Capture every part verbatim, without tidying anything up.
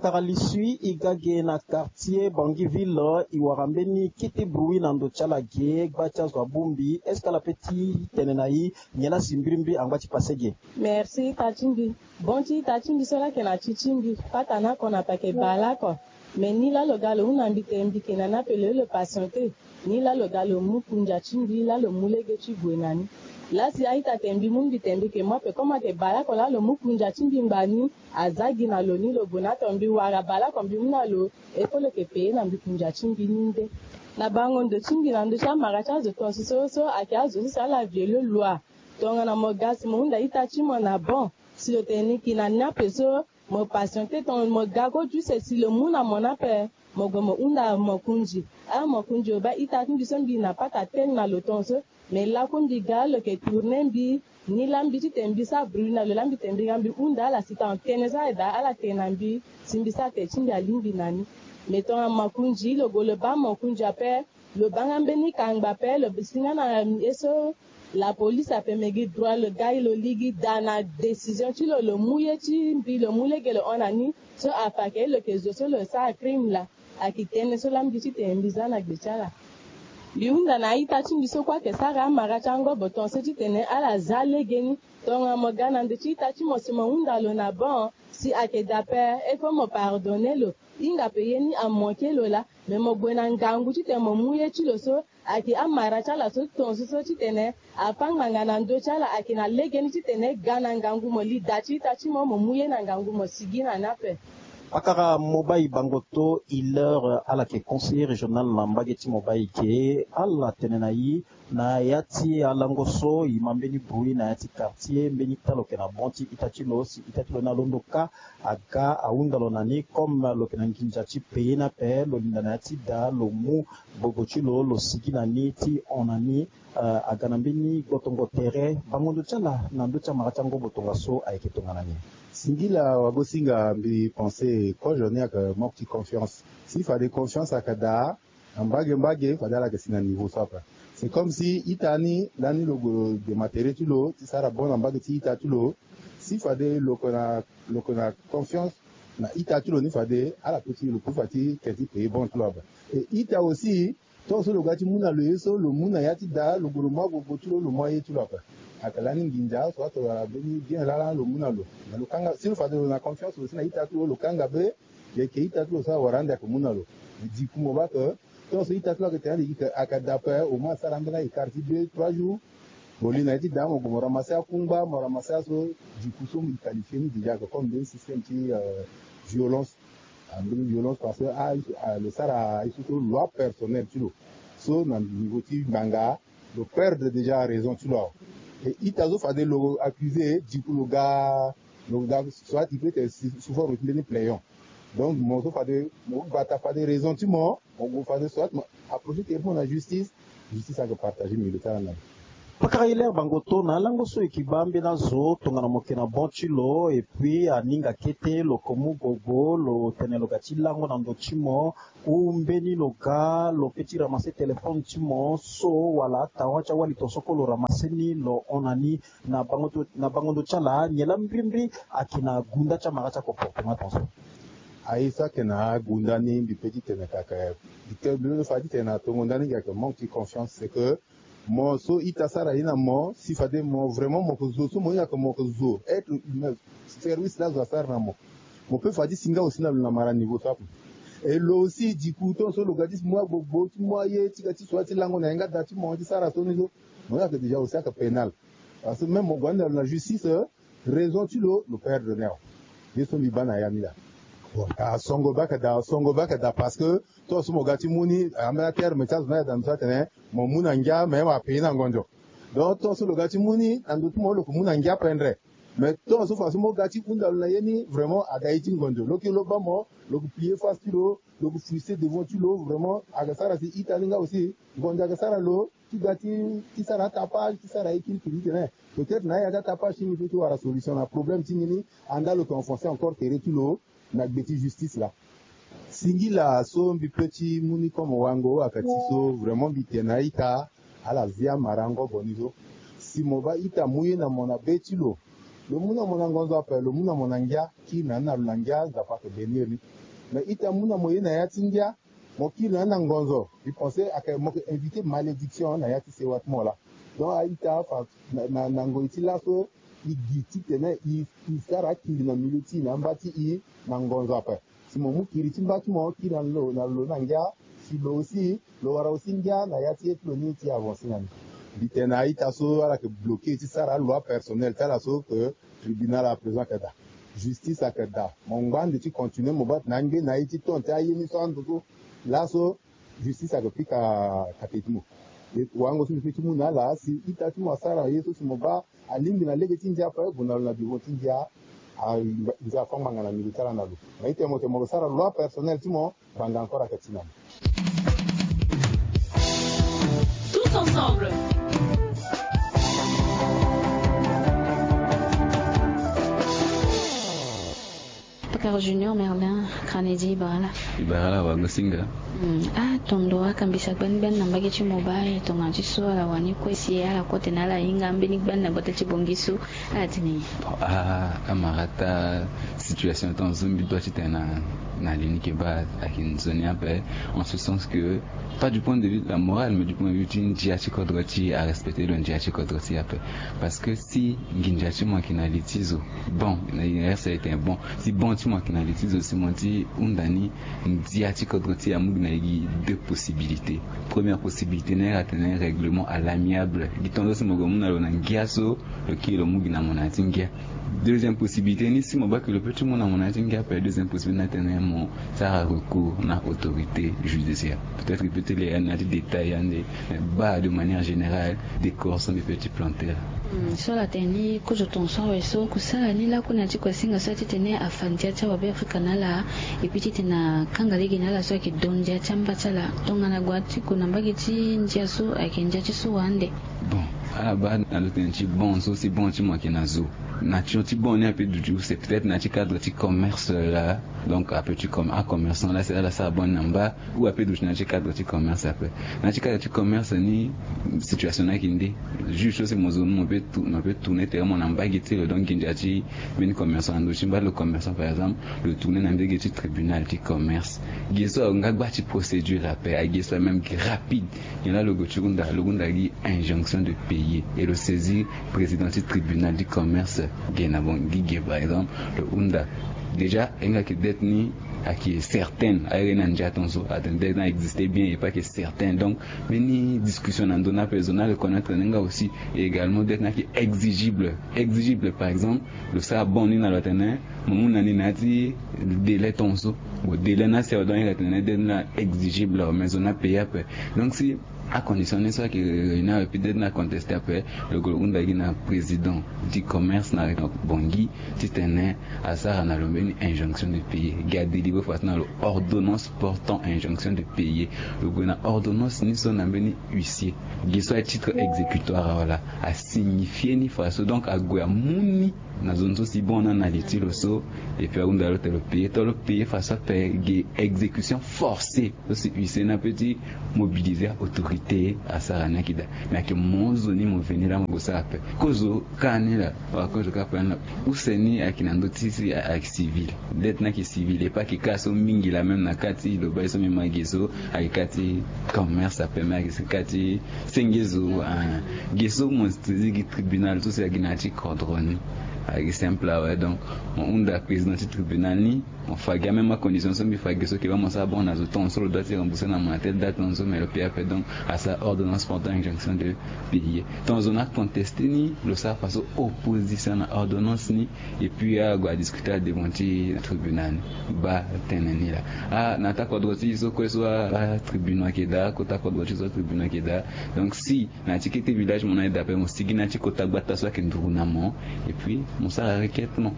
Pakara lisui i ga ge na quartier Bangui ville, i wara mbeni kete bruit na ndo ti ala ge, gba ti azo abongbi. Est-ce que ala pe ti tene na i nyen la si mbirimbiri angba ti pase ge? Merci ita ti mbi. Bon ti ita ti mbi so laa ayeke na ti ti mbi, pata ni ako na pake bale oko. Me ni laa lo ga lo hunda mbi tene mbi yeke na ni ape lo ye lo patiente. Ni laa lo ga lo mu kunja ti mbi laa lo mu lege ti gue na ni. Laa si a-ita tene mbi mu mbi tene mbi yeke mu ape comme ayeke bale oko laa lo mu kunja ti mbi ngba ni. Aza gi na lo ni lo gue na ato mbi wara bale oko mbi mu na lo. E kue lo yeke peye na mbi kunja ti mbi ni nde. Na bango ndo ti mbi na ndö ti amara ti azo tongaso so so ayeke azo so si ala viole loi. Tongana mo ga si mo hunda ita ti mo na bon, si lo tene ni yeke na ni ape so, mo patiente tongana mo ga kue juste si lo mu na mo ni ape, mo gue mo hunda mo kunzi. A mo kunzi o baa ita ti mbi so mbi na pata tene na lo tongaso. Me laku mbi ga lo yeke tourne mbi ni laa mbi ti tene mbi sara bruit na lo laa mbi tene mbi ga mbi hunda ala si tongana tënë so ala daa ala tene na mbi si mbi sara tene ti mbi alingbi na ni. Me tongana mo kunzi lo gue lo baa mo kunzi ape, lo baa nga mbeni kangba ape lo si nga na ye so. La police ape me gi droit lo ga lo ligi daa na décision ti lo lo mu ye ti mbi lo mu lege lo hon na ni. So afa ayeke lo yeke zo so lo sara crime laa. Ayeke tënë so laa mbi ti tene mbi za na gbe ti ala. Mbi hunda na a-ita ti mbi so kue ayeke sara amara ti angobo tongaso ti tene ala za legeni. Tongana mo ga na ndö ti ita ti mo si mo hunda lo na bon si ayeke daa ape, il faut mo pardonner lo. Hinga ape ye ni amanke lo laa. Me mo gue na ngangu titene mo mu ye ti lo so ayeke amara ti ala so tongaso so titene afâ ngbanga na ndö ti ala ayeke na legeni titene ga na ngangu mo li da ti ita ti mo mo mu ye na ngangu mo sigi na ni ape. Pakara Mobayi Bangoto Hilaire, ala yeke conseiller régional na mbage ti Mobayi ge, ala tene na i na ya ti alango so i ma mbeni bruit na ya ti quartier, mbeni ita lo yeke na bon ti ita ti lo si ita ti lo ni alondo kâ aga ahunda lo na ni comme lo yeke na nginza ti payer ni ape, lo linda na ya ti da lo mu gbogbo ti lo lo sigi na ni ti hon na ni. Eh, aga na mbeni gbotongo tere bango ndo ti ala na ndö ti amara ti angobo tongaso ayeke tongana nyen? Singila wagosinga mbi pense kozo ni ayeke manque ti confiance. Si fade confiance ayeke daa na mbage mbage fade ala yeke si na niveau so ape. C'est comme si ita ni lani lo gue lo dema tere ti lo ti sara bon na mbage ti ita ti lo. Si fade lo yeke na lo yeke na confiance na ita ti lo ni fade ala peut ti lo peut fa ti ke ti payer bon ti lo ape. Et ita aussi tongaso lo ga ti mu na lo ye so lo mu na ya ti da lo gue lo mu agbogbo ti lo lo mu aye ti lo ape. Ayeke lani nginza so ato wala mbeni bien lala lo mu na lo. Mais lo kanga si lo fade lo na confiance lo si na ita ti lo lo kanga be. Yeke ita ti lo so awara ande ayeke mu na lo. Diku mo baa ke tongaso ita ti lo ayeke tene ande yeke ayeke daa ape au moins asara ambeni ayeke kari ti deux trois jours. Mo li na ye ti da mo gue mo ramasser akungba mo ramasser aso. Diku so mo qualifie ni déjà ayeke comme mbeni système ti euh, violence. Ah, mbeni violence parce que ah, ah, lo sara aye so so loi personnel ti lo. So na niveau ti ngbanga lo perdre déjà raison ti lo awe. Et ita so fade lo accusé diku lo ga lo ga soit il peut être sous forme ti mbeni playon. Donc mo so fade mo gbata fade raison ti mo mo gue fade soit mo approcher tere ti mo na justice. Justice ayeke partager milieu ti ala na lo. Pakara Hilaire Bangoto na alango so e yeke baa ambeni azo tongana mo yeke na bon ti lo et puis aninga kete lo yeke mu gbogbo lo tene lo ga ti lango na ndo ti mo. Ou mbeni lo ga lo pe ti ramasser téléphone ti mo so wala atawa ti awali tongaso kue lo ramasser ni lo hon na ni. Na bango ndo na bango ndo ti ala nyen laa mbirimbiri ayeke na gunda ti amara ti acomportement tongaso? Aye so ayeke na agunda ni mbi pe ti tene kaka mbi te mbi lo fa ti tene na tongo ndani ngi ayeke manque ti confiance c'est que mo so ita sara ye na mo si fade mo vraiment mo yeke zo so mo hinga yeke mo yeke zo être humain service laa zo asara na mo. Mo pe fa ti si nga aussi na lo na mara niveau so ape. Et lo aussi diku tongaso lo ga ti si mu agbogbo ti mu aye ti ga ti so ti lango na yanga da ti mo ti sara so ni so. Mo yeke déjà aussi ayeke pénal. Parce que même mo gue ande na lo na justice raison ti lo lo perdre ni awe. Ye so mbi baa na ya ni laa. Bon asongo baa ayeke daa asongo baa ayeke daa parce que tongaso mo ga ti mu ni ambeni aterme ti azo ni ayeke daa ndo so atene mo mu na ngia mais mo apayer na ngonzo. Donc tongaso lo ga ti mu ni na ndo ti mo lo yeke mu na ngia pendre. Mais tongaso faso mo ga ti hunda lo na ye ni vraiment aga ye ti ngonzo lo yeke lo baa mo lo yeke plier face ti lo. Lo yeke fuise devant ti lo vraiment ayeke sara si ita ni nga aussi ngonzo ayeke sara lo ti ga ti ti sara atapage ti sara ye kiri kiri ti tene peut-être na ayeke atapage ti ni so ti wara solution na problème ti ni ni. Anda lo yeke enfoncer encore tere ti lo na gbe ti justice laa. Singila so mbi pe ti mu ni comme wango ayeke ti so vraiment mbi tene na ita ala zia mara ngobo ni so si mo baa ita mu ye na mo na be ti lo. Lo mu na mo na ngonzo ape, lo mu na mo na ngia, kiri na ni na lo na ngia, Nzapa ayeke bénir ni. Mais ita mu na mo ye na ya ti ngia, mo kiri na ni na ngonzo, mbi pense ayeke mo yeke inviter malédiction na ya ti sewa ti mo laa. Donc a-ita afa na, na, na ngoi ti laso, e gi titene e, e sara akiri na milieu ti e na amba ti e na ngonzo ape. Si mo mu kiri ti mba ti mo kiri na lo na lo na ngia, si lo aussi lo wara aussi ngia na ya ti ye ti lo ni ti avancer na ni. Mbi tene na a-ita so ala yeke bloquer ti sara aloi personnel ti ala so, que tribunal à présent ayeke daa, justice ayeke daa. Mo ngba ande ti continuer mo baa tene angbe na ye ti ton ti aye ni so ando so laso justice ayeke pika kate ti mo. E, wango so mbi pe ti mu na ala, si ita ti mo asara ye so si mo baa alingbi na lege ti ndia ape, gue na lo na bureau ti ndia, a, ndia afa ngbanga na milieu ti ala na lo. Mais ita mo tene mo lo sara loi personnel ti mo, ngbanga encore ayeke ti na mo. Tous ensemble. Pakaro Junior Merlin, Kranedi, e bara ala? E bara ala, wagosinga. Hmm. Ah, tondo, akambisa gbani gbani na mbage ti mobile, tongana ti so ala wani kue si ala kue tene ala hinga mbeni gbani na gbata ti Bangui so, ala tene nyen? Bon, ah, amarata, situation ti anzombi doit ti tene na, na li ni ke baa ayeke nzoni ape, en ce sens que pas du point de vue de la morale, mais du point de vue ti ndia ti kodro ti e, arespecter lo ndia ti kodro ti e ape. Parce que si nginza ti mo ayeke na li ti zo, bon, na reste ayeke bon, si bon ti mo ayeke na li ti zo, si mo ti hunda ni, ndia ti kodro ti e amu gi na e gi deux possibilités. Première possibilité ni ayeke atene règlement à l'amiable. Gi tongaso si mo gue mu na lo na ngia so, lo kiri lo mu gi na mo na ya ti ngia. Deuxième possibilité ni, si mo baa ke lo pe ti mu na mo na ya ti ngia ape, deuxième possibilité ni atene mo sara recours na autorité judiciaire. Peut-être que peut ti le ya na ya ti détail ande, mais baa de manière générale, décor so mbi pe ti planter laa. Hmm, so ala tene ni kozo tongaso awe so, kusala ni lakue na ya ti kuasinga so ti tene afa ndia ti awabe Afrika na ala, et puis ti tene akanga lege na ala so ayeke do ndia ti amba ti ala. Tongana gue ti gue na mbage ti ndia so ayeke ndia ti so wa ande. Bon, ala baa na lo tene ti bon so, si bon ti mo ayeke na zo, nature ti bon ni ape duti use, peut-être na ya ti cadre ti commerce laa. Donc ape ti com, acommerçant laa si ala sara bon ni na mba, ou ape duti na ya ti cadre ti commerce ape. Na ya ti cadre ti commerce ni, situation ni ayeke nde? Juge so si mo zo ni, mo pe tou, mo pe tourner tere mo na mbage ti lo, donc nginza ti mbeni commerçant na ndö ti mba ti lo commerçant par exemple, lo tourner na mbage ti tribunal ti commerce. Ge so awe nga gba ti procédure ape, age so awe même ge rapide. Nyen laa lo gue ti hunda? Lo hunda gi injonction de payer et lo saisir président ti tribunal ti commerce ge na Bangui ge, par exemple, lo hunda. Déjà e nga ke dette ni ayeke certaine, aye ni na ndia tongaso, atene dette ni a existe bien et pas que certaine. Donc mbeni discussion na ndö ni ape zo ni areconnaître ni nga aussi. Et également dette ni ayeke exigible, exigible. Par exemple, lo sara bon ni na lo atene mo mu na ni na ya ti délai tongaso. Bon, délai ni asi awe, donc e ga tene dette ni a exigible awe, mais zo ni apayer ape. Donc si acondition ni so ayeke réunir awe, peut-être ni acontester ape, lo gue lo hunda gi na président ti commerce na Bangui ti tene asara na lo mbeni injonction de payer, gi adélivrer fadeso na lo ordonnance portant injonction de payer. Lo gue na ordonnance ni so na mbeni huissier, gi so aye titre exécutoire awe laa, asignifie ni fadeso, donc ague amu ni na zo ni so si bon ni ana li ti lo so. Et puis ahunda lo tene lo payer, tongana lo payer fadeso ape gi exécution forcée so si huissier ni ape ti mobiliser autorité asara ni ayeke daa. Mais ayeke mo zo ni mo veni laa mo gue sara ape. Kozo ka ni laa, wala kozo ka ape ni laa, use ni ayeke na ndö ti si ayeke civil. Dette ni ayeke civil, e pas que ka so mingi laa, même na ka ti lo baa ye so mbi ma ge so, ayeke ka ti commerce ape, mais ayeke ka ti senge zo, ah, ge so mo saisir gi tribunal so si ayeke na ya ti kodro ni. Ayeke simple awe, donc mo hunda président ti tribunal ni, mo fa gi amême acondition so mbi fa ge so, ke baa mo sara bon na zo tongaso, lo doit ti rembourser na mo na telle date tongaso, mais lo payer ape, donc asara ordonnance portant injonction de payer. Tongaso na acontester ni, lo sara fadeso opposition na ordonnance ni, et puis ague adiscuter adevant ti tribunal ni. Baa tënë ni laa. Ah, na taa kodro ti e so kue so, ah, tribunal ayeke daa, kota kodro ti e so tribunal ayeke daa. Donc si na ya ti kete village mo na e daa ape, mo sigi na ya ti kota gbata so ayeke nduru na mo, et puis mo sara requête, non?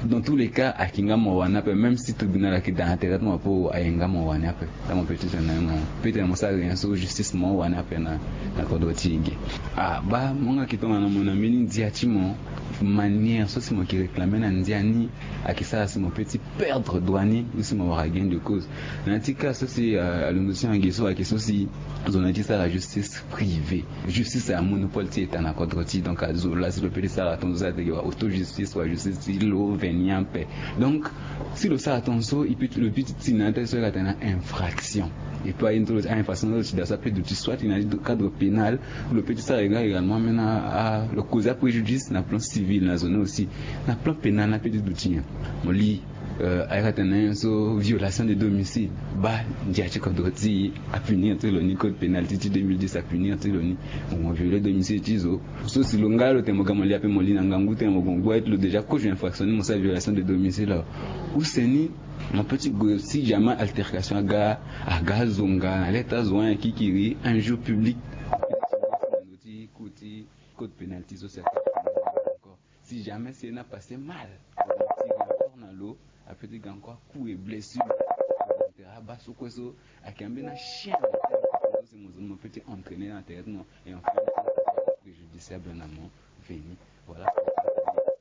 Dans tous les cas ayeke nga mo wani ape, même si tribunal ayeke daa na tere ti mo apo, ayeke nga mo wani ape. Taa mo pe ti tene na ye mo pe tene mo sara rien so, justice mo wani ape na, na kodro ti e ge. Ah, baa mo nga yeke tongana mo na mbeni ndia ti mo, manière so si mo yeke réclamer na ndia ni ayeke sara si mo pe ti perdre droit ni, ou si mo wara gain de cause. Na ya ti cas so si, euh, alondo ti e ge so ayeke so si zo na e ti sara justice privée. Justice a monopole ti État na kodro ti e, donc azo laa si lo pe ti sara tongaso, si atene ge wara auto justice wala justice ti lo veni ape. Donc si lo sara tongaso e pe lo pe ti tï na ya ti so e ka tene na infraction. E pe aye ni so lo ti a infraction so lo ti daa so ape duti soit na ya ti cadre pénal. Lo pe ti sara également ambeni a lo causer apréjudice na plan civil na zo ni aussi. Na plan pénal na pe ti duti nyen? Mo li aye ka tene na nyen so violation de domicile. Baa ndia ti kodro ti e apunir ti lo ni, code pénal ti ti deux mille dix apunir ti lo ni. Mo viole domicile ti zo. So si lo nga lo tene mo ga mo li ape mo li na ngangu tene mo gue ngu aye ti lo déjà kozo infraction ni mo sara violation de domicile awe. Use ni mo pe ti gue si jamais altercation aga aga azonga na leta azo wani akikiri injure publique. Ti code pénal ti so si ape ti encore si jamais si e na passe mal ti encore na lo ape ti ga encore coup et blessure. Abaa so kue so ayeke ambeni achien. Si mo zo ni mo pe ti entraîner na tere ti mo et enfin préjudiciable na mo. Veni voilà.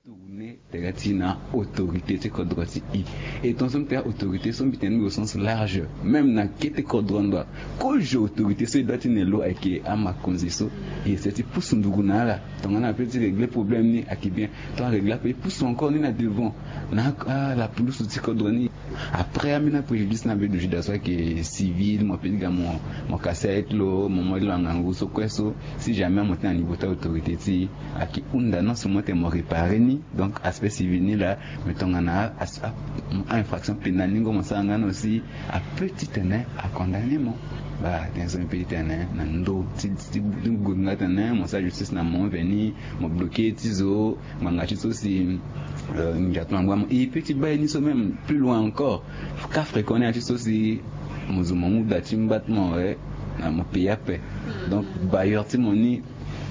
Tourner tere ti na autorité ti kodro ti e. Et tongaso mbi tene autorité so mbi tene mbi au sens large même na kete kodro ndo. Kozo autorité so e doit ti ne lo ayeke amakonzi so e ese ti pusu ndugu na ala. Tongana ape ti régler problème ni ayeke bien. Tant régler ape e pusu encore ni na devant na ala pulusu ti kodro ni. Après ambeni apréjudice na be du juda so ayeke civil mo pe ti ga mo mo kase aye ti lo mo mo ti lo na ngangu so kue so. Si jamais mo ti na niveau ti autorité ti e ayeke hunda non seulement tene mo réparer ni donc aspect civil ni laa. Mais tongana a infraction pénale ni ngo mo sara nga ni aussi ape ti tene acondamner mo. Baa tene so mbi pe ti tene na ndö ti ti ti gue nga tene mo sara justice na mo veni mo bloquer ti zo. Ngbanga ti so si nginza ti lo angba mo e pe ti baa ye ni so même plus loin encore. Cas fréquent ni ya ti so si mo zo mo mu da ti mba ti mo awe. Na mo payer ape. Donc bailleur ti mo ni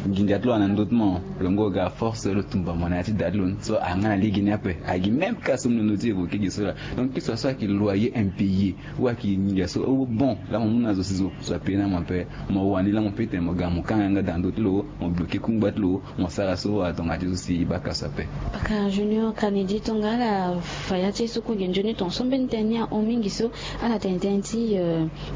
nginza ti lo ana ndö ti mo. Lo ngo ga force lo tumba mo na ya ti da ti lo ni so anga na lege ni ape. Agi même cas so mo londo ti évoquer gi so laa. Donc kisa so ayeke loyer impayé ou ayeke nginza so o bon laa mo mu na zo si zo apayer na mo ape. Mo wani laa mo pe tene mo ga mo kanga yanga da na ndö ti lo mo bloquer kungba ti lo. Mo sara so atonga ti so si e baka so ape. Paka junior kanedi tongana ala fa ya ti e so kue ge nzoni tonga so mbeni tene ni ahon mingi so ala tene tënë ti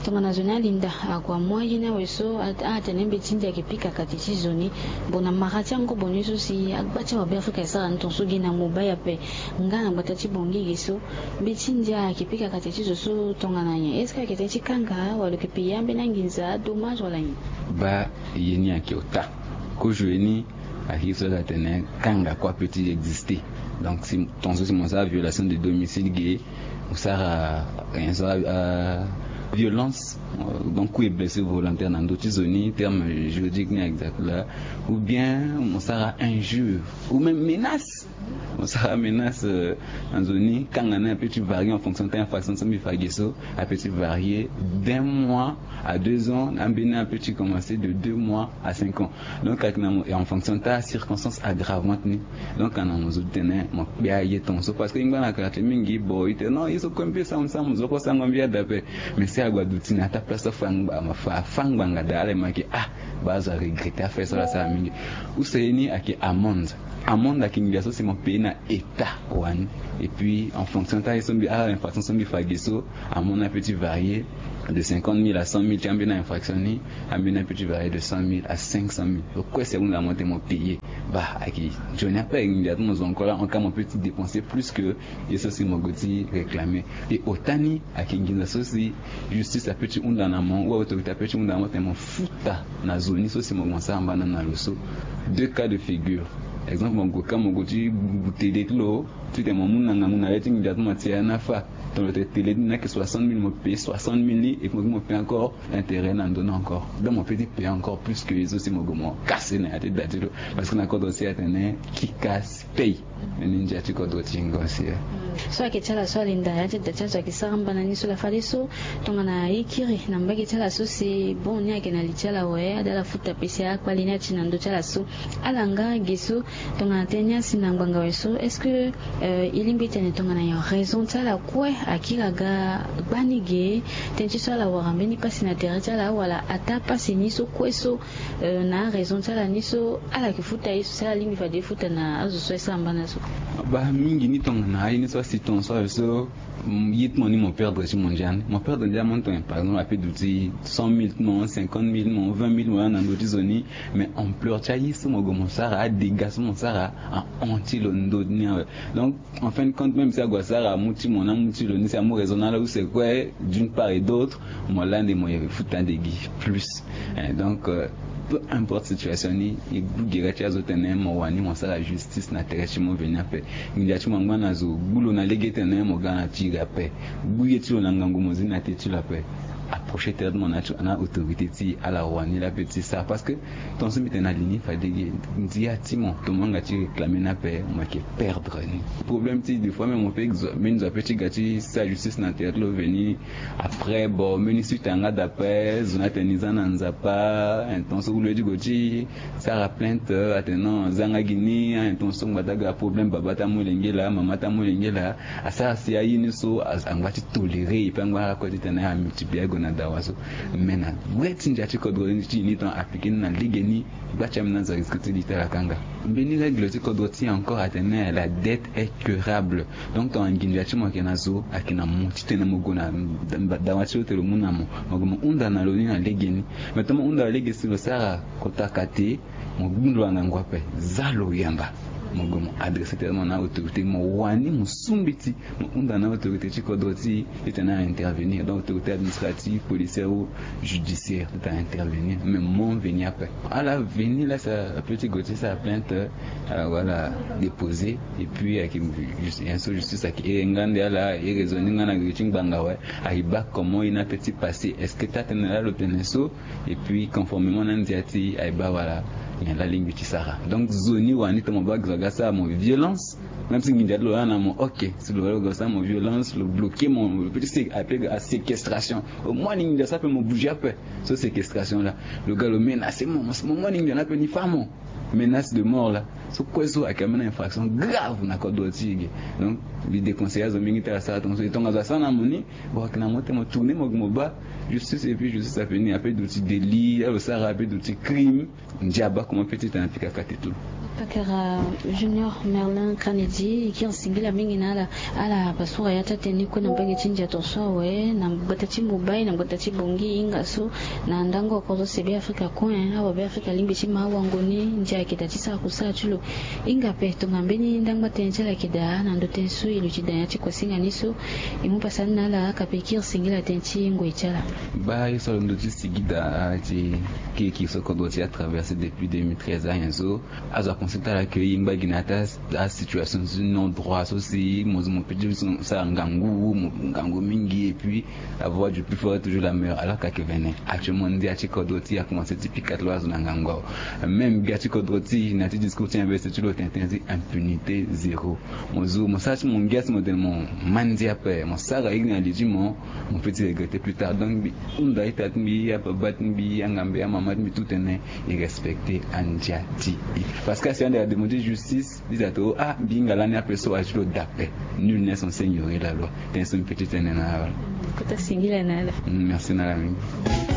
tongana zo ni alinda akua moyen ni awe so ala tene mbeti ndia ayeke pika kati ti zo ni. Bon na mara ti angobo ni so si agba ti awabe afrika esara ni tonga so ge na mobile ape. Nga na gbata ti bongi ge so mbeti ndia ayeke pika kati ti zo so tongana nyen est-ce que ayeke tënë ti kanga wala lo yeke payer ambeni anginza dommage wala nyen? Baa ye ni ayeke ota. Kozo ye ni ayeke ye so ala tene kanga kue ape ti exister. Donc si tongaso si mo sara violation de domicile ge mo sara nyen so violence donc coup et blessure volontaire na ndö ti zo ni terme juridique ni exact laa. Ou bien mo sara injure ou même menace. Mo sara menace na zo ni kanga ni ape ti varier en fonction ti infraction so mbi fa ge so. Ape ti varier d'un mois à deux ans. Ambeni ape ti commencer de deux mois à cinq ans. Donc ayeke na mo en fonction ti acirconstance aggravante ni. Donc ana mo zo ti tene mo kpe aye tongaso parce que e ngba na kara ti mingi bon e tene non ye so kue mbi pe sara mo sara mo zo kue sara ngo mbi ada ape. Mais si agba duti na ya ti aplace so afa ngbanga daa ala e ma yeke ah baa azo aregretter affaire so ala sara mingi. Use ye ni ayeke amende. Amende ayeke nginza so si mo payer na état wani. Et puis en fonction ti aye so mbi ala infraction so mbi fa ge so amende ape ti varier de cinquante mille à cent mille ti ambeni infraction ni. Ambeni ape ti varier de cent mille à cinq cent mille. Lo kue si ahunda mo tene mo payer. Baa ayeke nzoni ape ayeke nginza ti mo zo encore laa en cas mo pe ti dépenser plus que ye so si mo gue ti réclamer. Et ota ni ayeke nginza so si justice ape ti hunda na mo ou autorité ape ti hunda na mo tene mo futa na zo ni so si mo gue mo sara mbana na lo so. Deux cas de figure. Exemple mo gue ka mo gue ti gu tele ti lo ti tene mo mu na ngangu na le ti nginza ti mo ti ya ni afa. Tongana lo tene tele ti ni ayeke soixante mille mo payer soixante mille ni et puis mo payer encore intérêt na ndö ni encore. Donc mo pe ti payer encore plus que ye so si mo gue mo kase na ya ti da ti lo. Parce que na kodro si atene qui casse paye. Ni ndia ti kodro ti ngo si e. So ayeke ti ala so alinda ya ti da ti azo ayeke sara mbana ni so laa fadeso tongana e kiri na mbage ti ala so si bon ni ayeke na li ti ala awe ada ala futa pese akpali ni ati na ndö ti ala so. Ala nga ge so tongana tënë ni asi na ngbanga awe so est-ce que e lingbi tene tongana nyen raison ti ala kue akiri aga gbani ge? Tënë ti so ala wara mbeni pasi na tere ti ala wala ataa pasi ni so kue so na araison ti ala ni so ala yeke futa ye so si ala lingbi fade e futa na azo so? Ba mingi ni tongana aye ni so asi ton so aye so. Ye ti mo ni mo perdre ti mo ndia ni mo perdre ndia mo ni tongana par exemple ape duti cent mille ti mo, cinquante mille ti mo, vingt mille ti mo laa na ndö ti zo ni. Mais ampleur ti aye so mo gue mo sara adega so mo sara ahon ti lo ndö ni awe. Donc en fin de compte même si ague asara amu ti mo na amu ti lo ni si amu raison na ala use kue d'une part et d'autre mo lande mo yere futa nde gi plus. Donc peu importe situation ni e gbu gere ti azo tene mo wani mo sara justice na tere ti mo veni ape. Nginza ti mo angba na zo gbu lo na lege tene mo ga na ti iri ape. Gbu ye ti lo na ngangu mo zi na te ti lo ape. Approcher tere ti mo na autorité ti ala wani la pe ti sara parce que ton so mbi tene na li ni fade ge ndia ti mo tomo anga ti réclamer ni ape mo yeke perdre ni. Problème ti des fois même mo pe zo mbeni zo ape ti ga ti sara justice na tere ti lo veni. Après bon mbeni suite anga dape zo ni atene ni za na nzapa. Ton so gue lo ye ti gue ti sara plainte atene non aza nga gi ni. Ton so ngbata ga problème baba ti amolenge laa mama ti amolenge laa. Asara si aye ni so angba ti tolérer et puis angba ala kue titene amultiplier ague na dawa so. Mais na gbe ti ndia ti kodro ti ni ton appliquer ni na lege ni. Gba ti ambeni azo risque ti li ti ala kanga. Mbeni règle ti kodro ti encore atene la dette est curable. Donc ton anginza ti mo ayeke na zo ayeke na mo titene mo gue na dawa ti lo te lo mu na mo. Mo gue mo hunda na lo ni na lege ni. Mais ton mo hunda na lege si lo sara kota kate mo gbu ndo na ngangu ape. Za lo yamba mo gue mo adresser tene mo na autorité mo wani mo sumbiti. Mo hunda na autorité ti kodro ti e titene a intervenir donc autorité administrative policière ou judiciaire ti ta intervenir mais mo veni ape. Ala veni la sa ape ti gue ti sa plainte. Ala déposer et puis ayeke justice ayeke e nga nde ala e raisonner nga na gere ti ngbanga awe. Ayeke baa comment e na pe ti passer est-ce que taa tene la lo tene so? Et puis conformément na ndia ti e ayeke baa wala nyen la lingbi ti sara donc zo ni wani tongana mo baa zo aga sara mo violence. Même si nginza ti lo la na mo ok si lo wala lo ga lo sara mo violence lo bloquer mo lo pe ti ape ga aséquestration. Au moins ni nginza so ape mo bouger ape. So séquestration la lo ga lo menacer mo mo moi ni nginza ni ape ni fa mo. Menace de mort la so kue so ayeke ambeni infraction grave na kodro ti e ge. Donc mbi déconseiller azo mingi ti ala sara tongaso e tongaso asara na mo ni. Bon ayeke na mo ti mo tourner mo gue mo baa justice et puis justice ape ni ape duti délit ala lo sara ape duti crime. Ndia baa comment pe ti tena pika kate tout. Pakara Junior Merlin Kennedy e kiri singila mingi na ala. Ala pasura ya ti atene ni kue na mbage ti ndia tongaso awe na gbata ti mobile na gbata ti bongi e hinga so na ndango oko so sebe afrika kue awabe afrika alingbi ti ma awango ni ndia ayeke daa ti sara kusala ti lo. Hinga ape tongana mbeni ndangba tënë ti ala ayeke daa na ndo tënë so e luti daa ya ti kuasinga ni so. E mu pasa ni na ala aka pe e kiri singila tënë ti ngoi ti ala. Baa ye so alondo ti sigi daa ti kirikiri so kodro ti atraverser depuis deux mille treize anyen so. Azo aconstater ala ke e ngba gi na ya ti asituation ti non droit so si mo zo mo pe ti sara ngangu mo ngangu mingi et puis la voie du plus fort est toujours la meilleure alors kake vene actuellement ndia ti kodro ti e akomanse ti pika ti lo azo na ngangu awe. Même gbia ti kodro ti e na ya ti discours ti investi ti lo tene tene ti impunité zéro. Mo zo mo sara ti mo ngia si mo tene mo ma ndia ape mo sara iri na li ti mo. Mo pe ti regretter plus tard donc mbi hunda ita ti mbi ababa ti mbi angambe amama ti mbi tout tene e respecter andia ti e. Parce que asi ande ademande justice biza to ah mbi hinga lani ape so aye ti lo dape. Nul n'est censé ignorer la loi. Tënë so mbi pe ti tene na ala. Kota singila na ala. Merci na ala mingi.